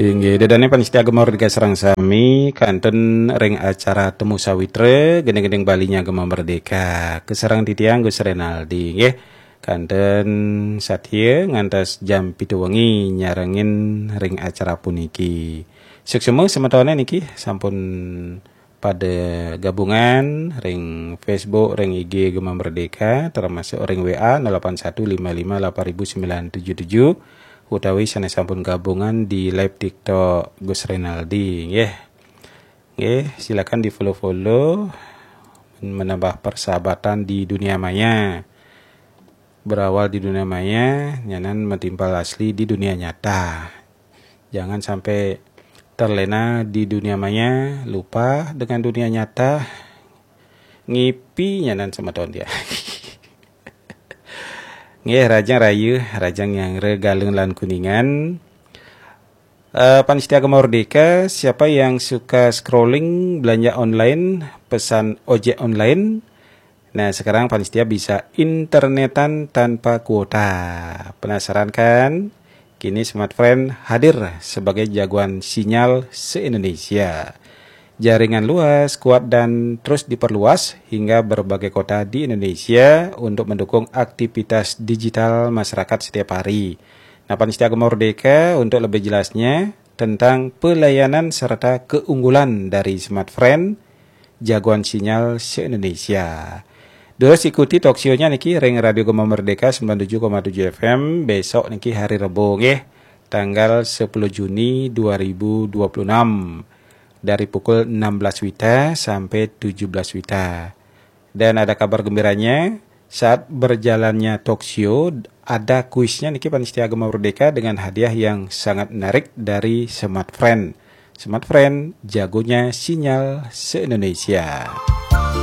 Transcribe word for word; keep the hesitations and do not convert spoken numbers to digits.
Inggih, ida dané pamiarsa Gema Merdeka sareng sami, kantun ring acara Temu Sawitra, gending-gending Baliné Gema Merdeka. Kasarengin titiang Gus Renaldi, nggih. Kantun satia ngantos jam pitu wengi nyarengin ring acara puniki. Suksma semetoné niki sampun pada gabungan ring Facebook, ring I G Gema Merdeka, termasuk ring W A nol delapan satu lima lima delapan ribu sembilan tujuh tujuh, utawi sané sampun gabungan di live TikTok Gus Renaldi, nggih. Nggih, silakan di-follow-follow, menambah persahabatan di dunia maya. Berawal di dunia maya, nyanan matimpal asli di dunia nyata. Jangan sampai terlena di dunia maya, lupa dengan dunia nyata. Ngipi nyanan semeton dia. Nggih, rahajeng raya, rahajeng nyanggra Galungan lan Kuningan. Eh, pamiarsa Gema Merdeka, siapa yang suka scrolling, belanja online, pesan ojek online, nah, sekarang pamiarsa bisa internetan tanpa kuota. Penasaran kan? Kini Smart Friend hadir sebagai jagoan sinyal se-Indonesia. Jaringan luas, kuat, dan terus diperluas hingga berbagai kota di Indonesia untuk mendukung aktivitas digital masyarakat setiap hari. Nah, pamiarsa Gema Merdeka, untuk lebih jelasnya tentang pelayanan serta keunggulan dari Smart Friend, jagoan sinyal se-Indonesia. Terus ikuti talk show-nya niki ring Radio Gema Merdeka sembilan tujuh koma tujuh F M, besok niki hari Rebo, nggih, tanggal sepuluh Juni dua ribu dua puluh enam, dari pukul enam belas wita sampai tujuh belas wita. Dan ada kabar gembiranya, saat berjalannya talk show, ada kuisnya niki pamiarsa Gema Merdeka dengan hadiah yang sangat menarik dari Smart Friend. Smart Friend, jagonya sinyal se-Indonesia.